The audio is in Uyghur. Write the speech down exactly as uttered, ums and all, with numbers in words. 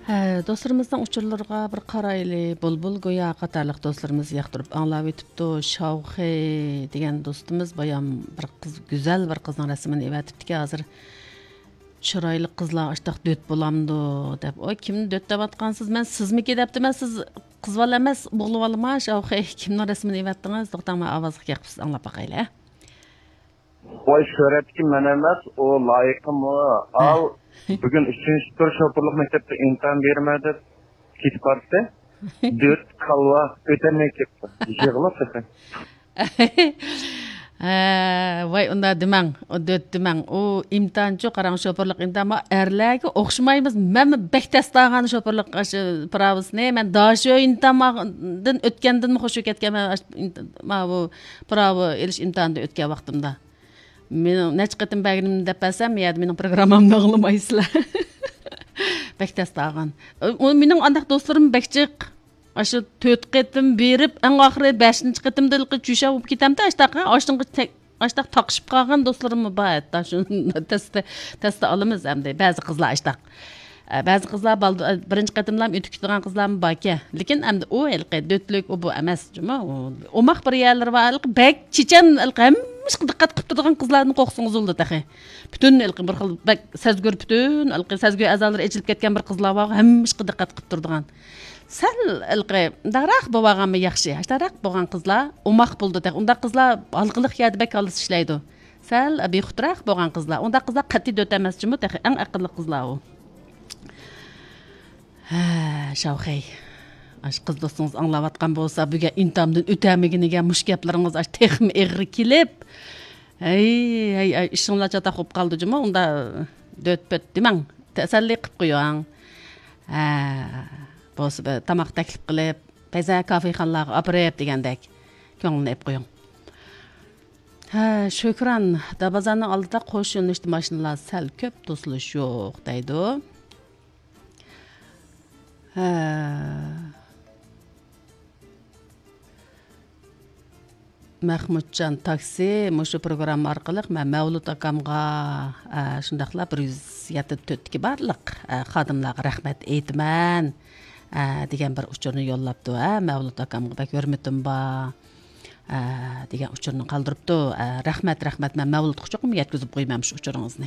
ھە، دوستلىرىمىزنىڭ ئۇچۇرلىرىغا بىر قارايلى. بۇلبۇل گويا قاتارلىق دوستلىرىمىز ياقتۇرۇپ ئاڭلاۋېتىپتۇ. شاۋخېي دېگەن دوستىمىز بايام بىر قىز، گۈزەل بىر قىزنىڭ رەسىمىنى ئېۋەتىپتىكەن ھازىر. چىرايلىق قىزلار ئاشتاق دۆت بولامدۇ دەپ. ئوي، كىمنى دۆت دەۋاتقانسىز؟ مەن سىزمىكى دەپتىمەن، سىز قىز بالا ئەمەس، ئوغلى بالىما؟ شاۋخېي، كىمنىڭ رەسىمىنى ئېۋەتتىڭىز؟ توختاڭ، مەن ئاۋازغا گەپ قىلسىز، ئاڭلاپ باقايلى، ھە؟ ۋاي، سۈرەتتىكى مەن ئەمەس، ئۇ لايىقىم ئۇ. ھە. ئال، بۈگۈن ئۈچىنچى تۈر شوپۇرلۇق مەكتەپتە ئىمتىھان بېرىمەن دەپ كېتىپ باراتتى. دۆت كالۋا ئۆتەلمەي كەپتۇ. يىغلاپ تېخى. ھە، ۋاي، ئۇنداق دېمەڭ، ئۇ دۆت دېمەڭ. ئۇ ئىمتىھانچۇ، قاراڭ، شوپۇرلۇق ئىمتىھان، ما ئەرلەرگە ئوخشىمايمىز. مەنمۇ بەك تەستە ئالغان شوپۇرلۇق ئاشۇ پىراۋىسىنى. مەن داشۆ ئىمتىھاندىن ئۆتكەندىنمۇ خۇشۇ كەتكەن مەن ئاشۇ ئىمتىھان، ما بۇ پىراۋا ئېلىش ئىمتىھانىدىن ئۆتكەن ۋاقتىمدا. مېنىڭ نەچچە قېتىم بەرگىنىمنى دەپ بەرسەم، يەردە مېنىڭ پروگراممامنى ئاڭلىمايسىلەر. بەك تەستە ئالغان. ئۇ مېنىڭ ئانداق دوستلىرىم بەك جىق. ئاشۇ تۆت قېتىم بېرىپ، ئەڭ ئاخىرى بەشىنچى قېتىمدا ھېلىقى چۈشەپ بولۇپ كېتەمدۇ، ئاشتاققا، ئاشتىنقى تەك-، ئاشتاق تاقىشىپ قالغان دوستلىرىممۇ بار ھەتتا. شۇ تەستە، تەستە ئالىمىز ئەمدى. بەزى قىزلار ئاشتاق. ئە، بەزى قىزلار بالدۇ-، ئە، بىرىنچى قېتىملام ئۆتۈپ كېتىدىغان قىزلارمۇ باركەن. لېكىن ئەمدى ئۇ ھېلىقى دۆتلۈك، ئۇ بۇ ئەمەس، جۇمۇ. ئۇ ئوماق بىر يەرلىرى بار، ھېلىقى بەك چېچەن، ھېلىقى ھەممە ئىشقا دىققەت قىلىپ تۇرىدىغان قىزلاردىن قورقسىڭىز بولىدۇ تېخى. پۈتۈن ھېلىقى بىر خىل بەك سەزگۈر، پۈتۈن ھېلىقى سەزگۈ ئەزالىرى ئېچىلىپ كەتكەن بىر قىزلار بار، ھەممە ئىشقا دىققەت قىلىپ تۇرىدىغان. سەل ھېلىقى مۇنداقراق بولۇۋالغانمۇ ياخشى. ئاشتاقراق بولغان قىزلار ئوماق بولىدۇ تېخى. ئۇنداق قىزلار ھالقىلىق يەردە بەك ھالسىز ئىشلەيدۇ. سەل بىخۇدراق بولغان قىزلار. ئۇنداق قىزلار قەتئىي دۆت ئەمەس جۇمۇ تېخى. ئەڭ ئەقىللىق قىزلار ئۇ. ھە، شاۋخەي. ئاشۇ قىز دوستىڭىز ئاڭلاۋاتقان بولسا، بۈگۈن ئىمتىھاندىن ئۆتەلمىگىنىگە مۇشۇ گەپلىرىڭىز ئاشۇ تېخىمۇ ئېغىر كېلىپ. ھەي، ھەي، ھەي، ئىشىڭلار چاتاق بولۇپ قالدى جۇمۇ. ئۇندا دۆت-پۆت دېمەڭ. تەسەللى قىلىپ قويۇڭ. ھە، بولسا بىر تاماق تەكلىپ قىلىپ، بەزى كافېخانىلارغا ئاپىرىپ دېگەندەك. كۆڭلىنى ئېلىپ قويۇڭ. ھە، شۆكران، دابازاننىڭ ئالدىدا قوش يۆنىلىشتە ماشىنىلار سەل كۆپ، توسۇلۇش يوق دەيدۇ. ھە. مەخمۇتجان تاكسى، مۇشۇ پروگرامما ئارقىلىق مەن مەۋلۇت ئاكامغا، ئە، شۇنداقلا بىر يۈز يەتتە تۆتتىكى بارلىق، ئە، خادىملارغا رەھمەت ئېيتىمەن، ئە، دېگەن بىر ئۇچۇرنى يوللاپتۇ. ھە، مەۋلۇت ئاكامغا بەك ھۆرمىتىم بار، ئە، دېگەن ئۇچۇرنى قالدۇرۇپتۇ. ئە، رەھمەت، رەھمەت، مەن مەۋلۇتقا چوقۇم يەتكۈزۈپ قويىمەن مۇشۇ ئۇچۇرىڭىزنى.